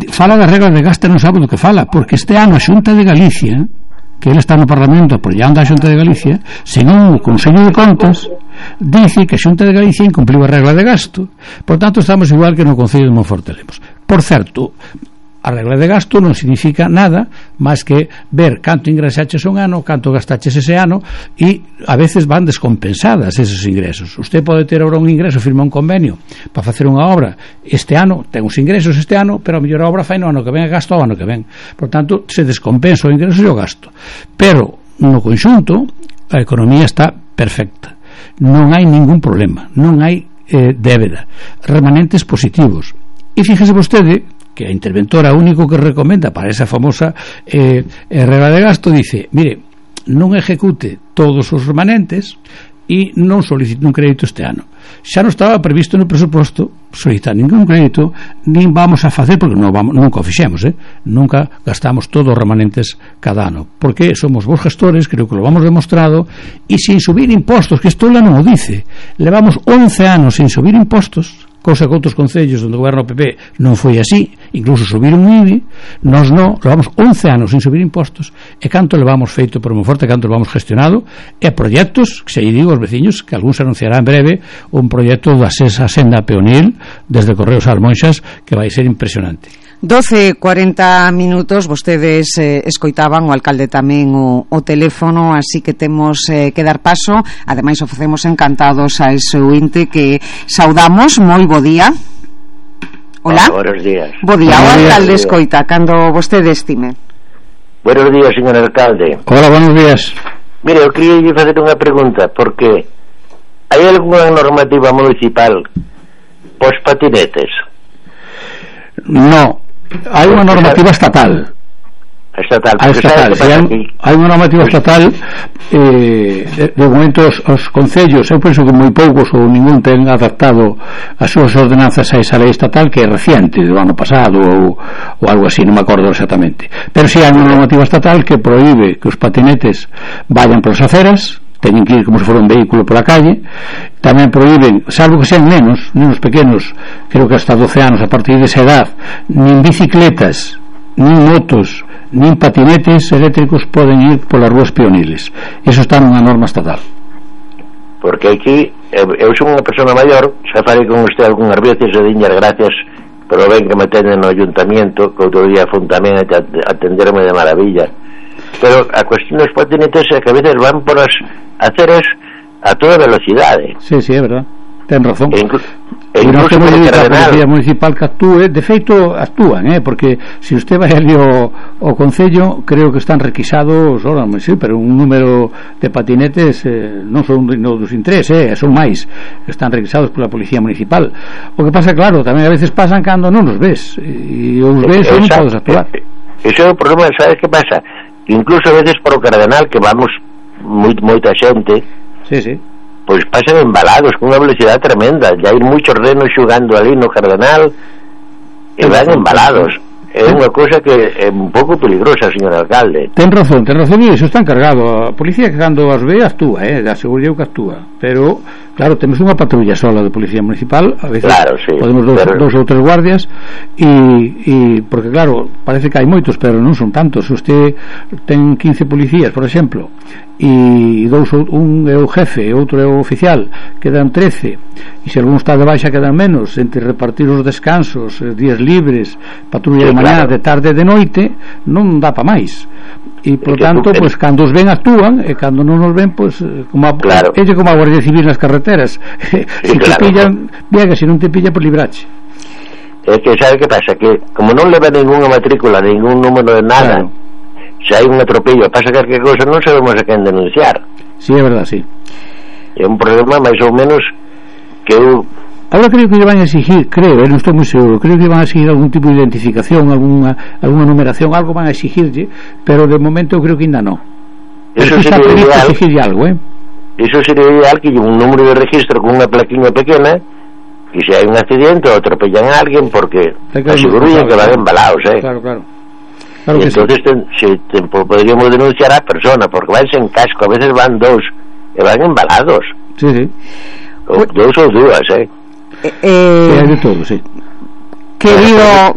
fala das reglas de gasto, non sabe do que fala, porque este ano a Xunta de Galicia, que ele está no Parlamento apoiando a Xunta de Galicia, según o Consello de Contas, dice que a Xunta de Galicia incumpliu a regla de gasto. Por tanto, estamos igual que no Concello de Monforte de Lemos. Por certo, a regla de gasto non significa nada máis que ver canto ingresaches un ano, canto gastaches ese ano, e a veces van descompensadas esos ingresos. Usted pode ter ahora un ingreso, firma un convenio para facer unha obra este ano, ten uns ingresos este ano, pero a mellor a obra fai no ano que ven, gasto o ano que ven. Por tanto, se descompensa o ingreso e o gasto. Pero no conxunto a economía está perfecta, non hai ningún problema, non hai débeda, remanentes positivos. E fíjese vostede que a interventora único que recomenda para esa famosa regla de gasto dice, mire, non execute todos os remanentes e non solicite un crédito este ano. Xa non estaba previsto no presuposto solicitar ningún crédito, nin vamos a facer, porque nunca o fixemos, nunca gastamos todos os remanentes cada ano, porque somos vos gestores, creo que lo vamos demostrado, e sin subir impostos, que isto non o dice, levamos 11 anos sin subir impostos, cousa que outros concellos onde o goberno PP non foi así, incluso subiron un IBI, nós non, levamos 11 anos sin subir impostos, e canto levamos feito por Monforte, canto levamos gestionado, e proxectos, que se digo aos veciños, que algún se anunciará en breve, un proxecto da senda peonil desde Correos a Almonxas, que vai ser impresionante. 12:40 minutos, vostedes escoitaban o alcalde tamén o teléfono, así que temos que dar paso. Ademais, o facemos encantados a ese ointe que saudamos. Moi bo día. Hola. Buenos días. Bo día, o alcalde escoita, cando vostede estime. Buenos días, señor alcalde. Hola, buenos días. Mire, eu queria facer unha pregunta, porque hai algunha normativa municipal pos patinetes? No. Hai unha normativa estatal. Hai unha normativa estatal. De momento os concellos, eu penso que moi poucos ou ningún ten adaptado as súas ordenanzas a esa lei estatal, que é reciente, do ano pasado ou algo así, non me acordo exactamente. Pero si hai unha normativa estatal que proíbe que os patinetes vayan polas aceras, teñen que ir como se fora un vehículo pola calle. Tamén proíben, salvo que sean nenos pequenos, creo que hasta 12 anos, a partir desa edad, nin bicicletas, nin motos, nin patinetes eléctricos poden ir polas rúas peoniles. Eso está nunha norma estatal. Porque aquí eu son unha persona maior, xa falei con usted algunhas veces, e diñas gracias pero ben que me tenen no ayuntamiento, que outro día fun tamén a atenderme de maravilla. Pero a cuestión dos patinetes é que a veces van por as aceras a toda velocidade. Sí, é verdad, ten razón. Incluso non temos a Policía Municipal que actúe, de feito actúan, porque se usted vai ali ao Concello, creo que están requisados, sí, pero un número de patinetes non son dos tres, son máis, están requisados pola Policía Municipal. O que pasa, claro, tamén a veces pasan cando non os ves, e os ves e non podes actuar. Ese é o problema, sabes que pasa? Incluso a veces por o Cardenal, que vamos moita xente, pois pasan embalados con unha velocidade tremenda, e hai moitos renos xugando ali no Cardenal e van embalados. É unha cousa que é un pouco peligrosa, señor alcalde. Ten razón, e iso está encargado. A policía que cando as ve actúa, aseguro eu que actúa, pero claro, temos unha patrulla sola de Policía Municipal, a veces claro, sí, podemos dos ou tres guardias, e porque claro, parece que hai moitos, pero non son tantos. Se usted ten 15 policías, por exemplo, e un é o jefe e outro é o oficial, quedan 13, e se algún está de baixa quedan menos, entre repartir os descansos, días libres, patrulla de mañá, de tarde, de noite, non dá pa máis. E por tanto, pois cando os ven actúan, e cando non os ven, pois como a Guardia Civil nas carreteras, se te pillan, bien, que se non te pilla, por librache. É que sabe que pasa, que como non leva ninguna matrícula, ningún número de nada, se hai un atropello, pasa calquer cousa, non sabemos a quen denunciar. Sí, é verdad, sí. É un problema máis ou menos que eu... Ahora creo que lle van a exigir, non estou moi seguro, creo que lle van a exigir algún tipo de identificación, alguna numeración, algo van a exigirlle, pero de momento eu creo que ainda non. Eso sería ideal. Algo, Eso sería ideal, que un número de registro con unha plaquinha pequena, e se hai un accidente ou atropellan a alguén, porque aseguro que van embalados, Claro e entonces podríamos denunciar a persona, porque van sen casco, a veces van dous e van embalados. Sí. Dous ou dúas, de todo, sí. Querido